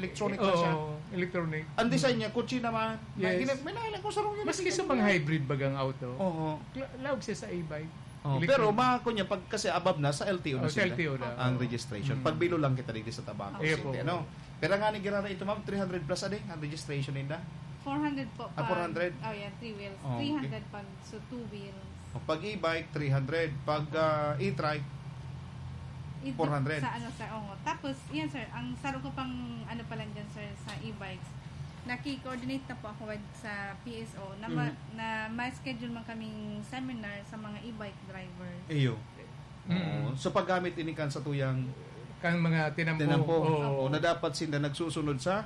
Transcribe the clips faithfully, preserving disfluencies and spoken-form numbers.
Electronic na siya. Oo, electronic. Ang design niya, kutsi naman. May Yes. gina-, may nahilang ko sa rong Maski sa mga hybrid bagang auto, Oo. la-, laog siya sa e-bike. Oh, Electronic. pero ma-, kunya, pag kasi above na, sa L T O na Oh, sa sila L T O na. ang Oh. registration. Mm. Pag bilo lang kita digdi sa Tabaco Iyo City, po. ano? Pero nga ni Girara ito, ma'am, three hundred plus a day ang registration ninda. Four hundred po Ah, pag, four hundred? oh, yan, three wheels. Oh, okay. Three hundred pag, so two wheels. O, pag e-bike, three hundred. Pag, ah, e-trike, It four hundred. Sa ano, sir, oo. Tapos, yan, sir, ang saro ko pang, ano pa lang dyan, sir, sa e-bikes, naki-coordinate na po ako with, sa P S O na ma-, Mm. na ma-schedule man kaming seminar sa mga e-bike drivers. Iyo. Mm. Oo. So, paggamit ini kan sa tuyang Kan mga tinampo. tinampo. Oo. Oo, na dapat sinda nagsusunod sa,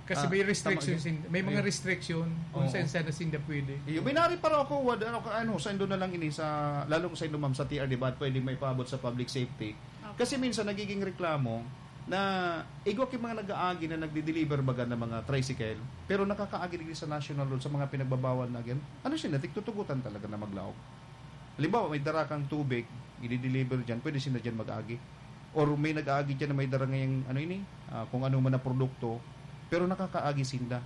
Kasi ah, may restriction tama, sin-, may mga eh. restriction kung Oo. saan-saan na sinda pwede. Iyo, binari para ako, wad-, ano, ka-, ano, sa indo na lang ini, sa, lalong sa indo, ma'am, sa T R, di ba, pwede may paabot sa public safety. Opo. Kasi minsan nagiging reklamo na igwa ki mga nag-aagi na nagdi-deliver baga ng mga tricycle, pero nakakaagi digdi sa national road, sa mga pinagbabawal na agyan. Ano sila, tigtutugutan talaga na maglaog? Halimbawa, may dara kang tubig, i-deliver dyan, pwede sinda dyan mag-agi. Or may nag-aagi dyan na may dara ngayang, ano ini, ah, kung ano man na produkto, pero nakakaagi sinda.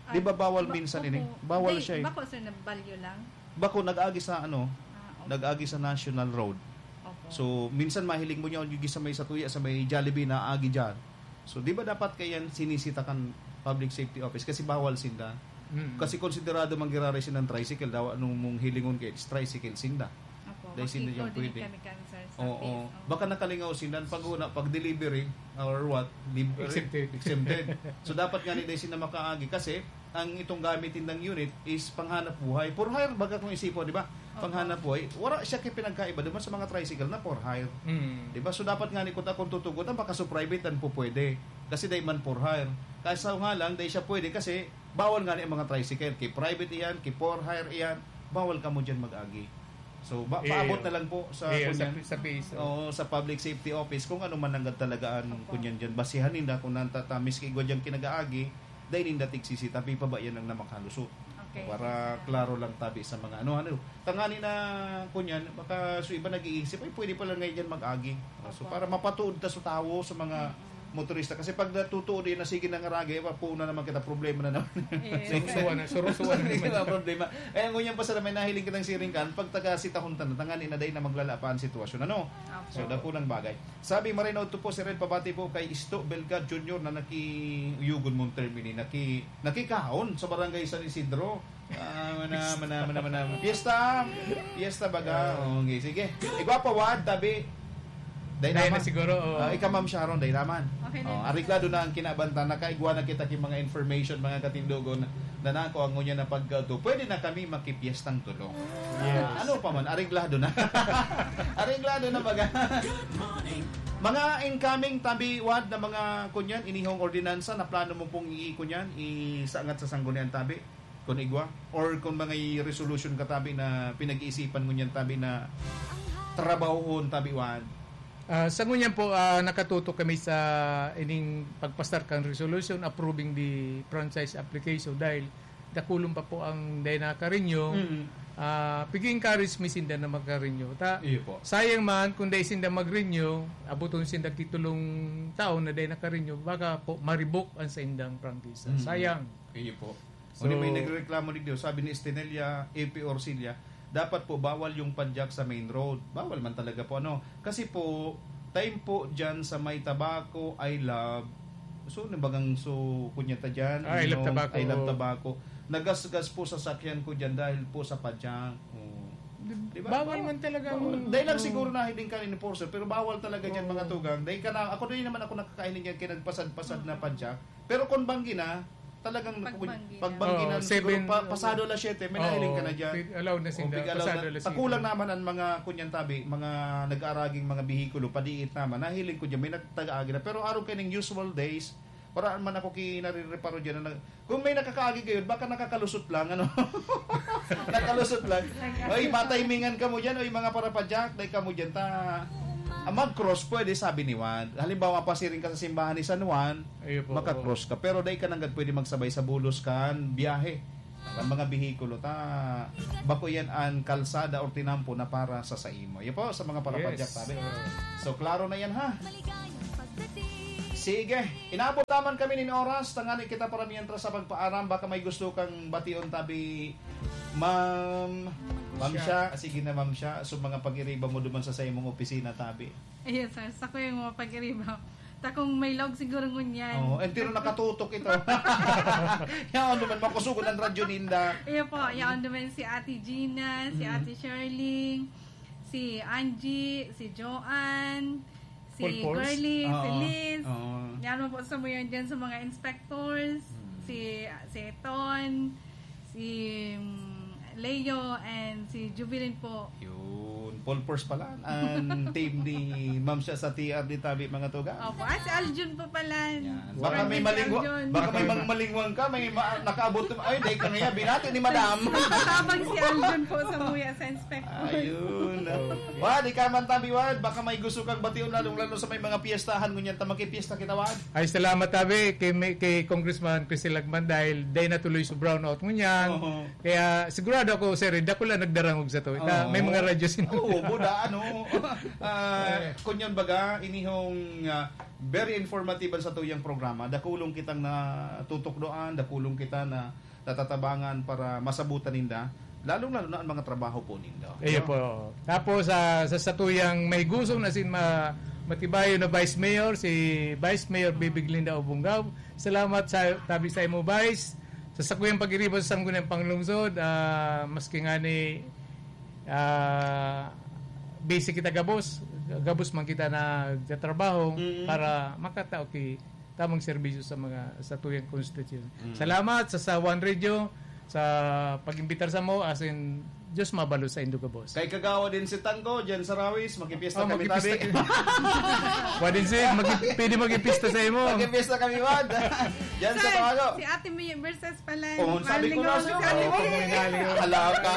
Di ba Ay, bawal ba-, minsan ini? opo. Bawal Di, siya eh. bako, sir, na balyo lang? Bako, nag-agi sa ano, Ah, opo. nag-agi sa National Road. Opo. So, minsan mahiling mo niya, yung sa may satuya, sa may Jollibee, na agi dyan. So, di ba dapat kayan sinisita kan public safety office? Kasi bawal sinda. Mm. Kasi konsiderado man giraray sinang tricycle, daw anong mong hilingon kay tricycle sinda. Opo, Dahil sinda makikita yung din pwede. kami, kami, sir, sa Oo. P S O. Baka nakalingaw sinda, pag una, pag delivery, or what, libre, Exempted. exempted. So, dapat nga ni dahil sinda makaagi kasi ang itong gamit nindang unit is panghanap buhay. For hire, baga kung isipon, di ba? Opo. Panghanap buhay. Wala siya kay pinagkaiba naman sa mga tricycle na for hire. Mm. Di ba? So, dapat nga ni kuta kung tutugot, ang baka so private, ang pupwede. Kasi dahil man for hire. Kaso nga lang, dahil siya pwede kasi bawal nga ni ang mga tricycle. Kay private iyan, kay for hire iyan, bawal kamo dyan mag-agi. So, ba, Iyo. paabot na lang po sa Iyo, sa, kunyan. sa P S O. Oo, sa public safety office, kung ano man nanggad talaga ang Opo. kunyan dyan. Basihan ninda kung nantatamis kay igwa dyan kinag-aagi, dahil ninda tigsisi, tapi pa ba yan ang namakalusot? Okay, Para sige. klaro lang tabi sa mga ano, ano. Tangani na, kunyan, baka so iba nag-iisip, "Ay, pwede pala ngayon dyan mag-agi." So, Opo. para mapatuod ta sa tawo, sa mga Mm-mm. motorista. Kasi pag natutuo din na sige na nga ragi, papuuna naman kita, problema na naman. Yes. Surusuan na, surusuan na Sige naman. na, problema. Ay, ang ngunyan pa, sir, may nahiling kitang siring kan, pag taga sitahon ta na, tangani na dahil na maglala pa ang sitwasyon. Ano? Opo. So, dakulang bagay. Sabi, Marino Auto po, si Red Pabati po kay Isto Belga Junior na naki-, uyugon mong term ini, naki-, nakikaon sa Barangay San Isidro. Ah, mana, mana, mana, mana. Fiesta! Fiesta baga. Ah. Oh, okay, sige. Igwa pa, Wad, tabi. Dahil Dahil na naman. siguro, oh. Ah, ikaw, Ma'am Sharon, dahil naman. Okay na Oh, yun. areglado na ang kinabantan. Nakaigwa na kita ki mga information, mga katindogon, na nako ang ngunyan na pagkato. Pwede na kami makipiestang tulo. Yes. Ah, ano pa man, areglado na. Areglado na baga. Mga incoming tabi, Wad, na mga kunyan, inihong ordinansa na plano mo pong i-, kunyan, isangat sa sanggunian tabi, kun igwa? Or kung mga i-, resolution ka tabi na pinag-iisipan ngunyan tabi na trabahohon tabi, Wad? Ah, sa ngunyan po, ah, nakatutok kami sa ining pagpasar kan resolution approving the franchise application dahil dakulon pa po ang dai naka-renew. Mm. Ah, pig-encourage mi sinda na maka-renew. Ta-, Iyo po. sayang man kung dai sinda mag-renew, abuton sinda kitulong taon na dai naka-renew, baka po ma-revoke ang saindang prangkisa. Mm. Sayang. Iyo po. So, Kundi may nagrereklamo digdi, sabi ni Estenelia A P Orsilia, dapat po bawal yung padjak sa main road. Bawal man talaga po, ano. Kasi po, time po dyan sa may Tabaco, I Love. So, nabagang so, kunya ta dyan, Ah, I Love Ninong, Tabaco. I Love Tabaco. Nagasgas po sasakyan ko dyan dahil po sa padjak. Oh. Di ba? Bawal man talaga Bawal. ang Dahil lang Oo. siguro nahiling ka enforcer, pero bawal talaga dyan, Oo. mga tugang. Dahil ka na, ako din naman ako nakakahiling yan, kaya nagpasad-pasad na Oo. padjak. Pero kung banggi na, talagang Pagbanggi na. pagbanggi na, Oo, siguro seven, pa-, pasado alas siyete, may oo, nahiling ka na dyan. pi-, allowed na O, sinda, big allowed pasado na. alas siyete. Takulang naman ang mga kunyan tabi, mga nag-aaraging mga bihikulo, padiit naman. Nahiling ko dyan, may nagtag-aagi na. Pero araw kayo ng usual days, wala man ako kinarereparo dyan na nag-, kung may nakakaagi kayo, baka nakakalusot lang, ano? Nakalusot lang. Oy, matimingan ka mo dyan, oy, mga parapadyak, dahil ka mo dyan, ta, ah, mag-cross pwede, sabi ni Juan. Halimbawa, pasiring ka sa simbahan ni San Juan, Ayun po, maka-cross ka. Pero dai ka nanggad pwede magsabay sa bulos kan biyahe. Ang mga bihikulo ta, bako yan ang kalsada or tinampo na para sa saimo. Yun po, sa mga parapadyak, Yes. sabi. So, klaro na yan, ha? Maligayang pagdating. Sige, inabot naman kami nin oras, tangani kita para mientras sa pagpaaram, baka may gusto kang bation tabi, Ma'am, Ma'am Siya. Siya. Sige na, Ma'am Siya. So, mga pag-iriba mo duman sa saimong opisina tabi. Yes, sir. Sa ko yung mga pag-iriba. Ta kung may log siguro ngunyan. Oo, entero nakatutok ito. Yaon naman, makusugon ang radyo ninda. Iya po, yaon naman si Ate Gina, si Mm. Ate Shirley, si Angie, si Joanne, si Full force? Girlie, si Oo. Liz. Oo. Yan mo po sa muyan dyan sa mga inspectors. Hmm. Si, si Ton, si, mm, Leo, and si Jubilin po. Yun. Full force pala ang team ni Ma'am Siya sa T R D tabi, mga tugang. Opo. Ah, si Aljun po pala. Yan. Baka may Aljun, si malingwa-, Aljun. Baka may mang malingwang ka, may ma-, nakaabot ka, ay, dahil ka ngayon, binati ni Madam. Tabang si Aljun po sa muya sa inspector. Ayun. Wad, ikaw man tabi, Wad, baka may gusto kang bation, lalong-lalo sa may mga piyestahan, ngunyan ta makipiyesta kita, Wad. Ay, salamat, tabi, kay, kay Congressman Christy Lagman dahil day na tuloy sa brownout ngunyan. Oo. Kaya sigurado ako, sir, eh, dakula nagdarangog sa to. Ita, Oo. may mga radyo sin- Oo, buda, ano. Ah, Eh. Kunyon baga, inihong, ah, very informative sa tuyang programa. Dakulong kitang natutukdoan, dakulong kita na natatabangan para masabutan ninda. Lalong-lalo na ang mga trabaho po ninda. Iyo po. Tapos, ah, sa satuyang may gusong na sin ma-, matibayo na Vice Mayor, si Vice Mayor Bibi Glinda Obongao. Salamat sa tabi sa imo, Vice. Sa sakuyang pag-iriba sa Sangguniang Panglungsod, ah, maski nga ni, ah, busy kita gabos, gabos man kita nagtatrabaho Mm. para makatao ki tamang serbisyo sa mga, sa tuyang konstitusyon. Mm. Salamat sa, sa One Radio, sa pag-imbitar sa mo, as in, Diyos mabalo sa indo gabos. Kay Kagawa din si Tangko, diyan sa Rawis, makipiyesta Oh, kami makipista tabi. ka. Wa din si, maki-, pwede makipista sa imo. Makipista kami, Wad. Diyan sa Sir, Tawago. Si Ate May versus pala. Oh, sabi ko na Malingaw siya. si Ate Oh, May. Malingaw. Hala ka.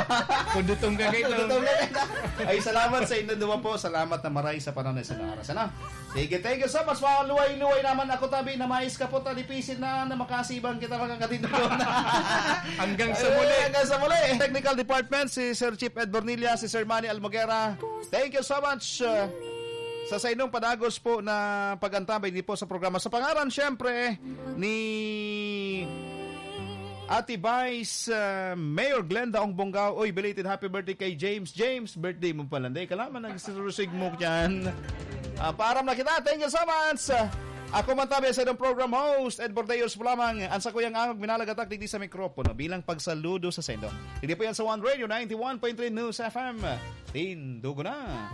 Kundutong ka kayo. Kundutong ka kayo. Ay, salamat sa inyong duma po. Salamat na maray sa panahon na sa oras. Ano? Sige, thank you so much. Mga luway-luway naman ako, tabi, na mais ka po, talipisin na, na makasibang kita, mga katindog. Hanggang sa muli. Ayun, hanggang sa muli. Technical Department, si Sir Chief Ed Bornilla, si Sir Manny Almoguera. Thank you so much, uh, sa sainong padagos po na pag-antabay din po sa programa. Sa pangaran, syempre, ni Ate Vice, uh, Mayor Glenda Ong Bongao. Uy, belated happy birthday kay James. James, birthday mo pala. Hindi, kalaman nagsirusig mo dyan. Ah, paaram na kita. Thank you so much. Ako man tabi sa inyong program host, Ed Bordeos po lamang. Ang sakuyang angog, minalagatak digdi sa mikropono bilang pagsaludo sa sendo. Hindi po yan sa One Radio, ninety-one point three News F M. Tindugo na.